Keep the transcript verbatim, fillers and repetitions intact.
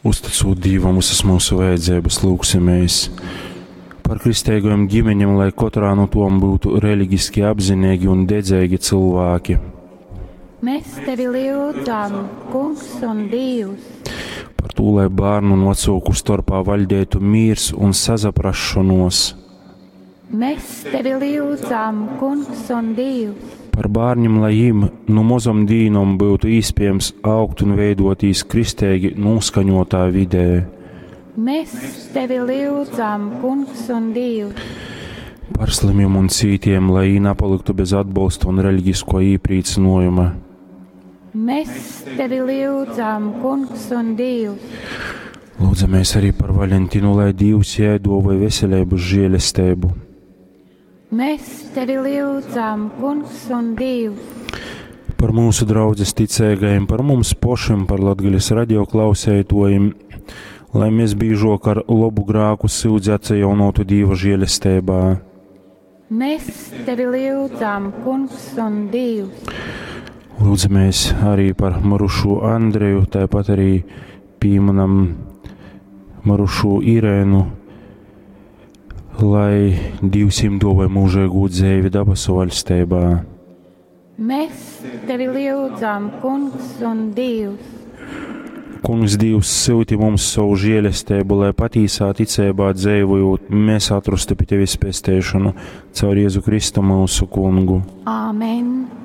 Uzticūt Dīvam visas mūsu vajadzības, lūgsimies par kristeigajām ģimeņiem, lai katrā no tom būtu reliģiski apzinīgi un dedzīgi cilvēki. Mēs tevi lūdzam, Kungs un Dievs. Par to, lai bērnu un vecāku starpā valdētu miers un sazaprašanos. Mēs tevi lūdzam, Kungs un Dievs. Par bērniem, lai viņiem no mozom dīnom būtu iespējams augt un veidotīs kristīgi noskaņotā vidē. Mēs tevi lūdzam, Kungs un Dievs. Par slimiem un cītiem, lai viņi nepaliktu bez atbalsta un reliģisko īprīcinojuma. Mēs tevi lūdzam, Kungs un Dievs. Lūdzamies arī par Valentinu, lai Dievs jai dāvāja veselību, žēlastību. Mēs tevi lūdzam, Kungs un Dievs. Par mūsu draudzes ticīgajiem, par mums pašiem, par Latgales radio klausētojiem, lai mēs biežāk ar labu grāku syudzi atjaunotu Dieva žēlastībā. Mēs tevi lūdzam, Kungs un Dievs. Lūdzamies arī par mirušo Andreju, tāpat arī pieminam mirušo Irēnu, lai Dievs viņiem dāvāja mūžīgu dzīvi dabasu valstībā. Mēs tevi lūdzam, Kungs un Dievs. Kungs Dievs sūti mums savu žēlastību, lai patīsā ticībā dzīvojot, mēs atrastu pie tevis pestīšanu caur Jēzu Kristu mūsu kungu. Āmen!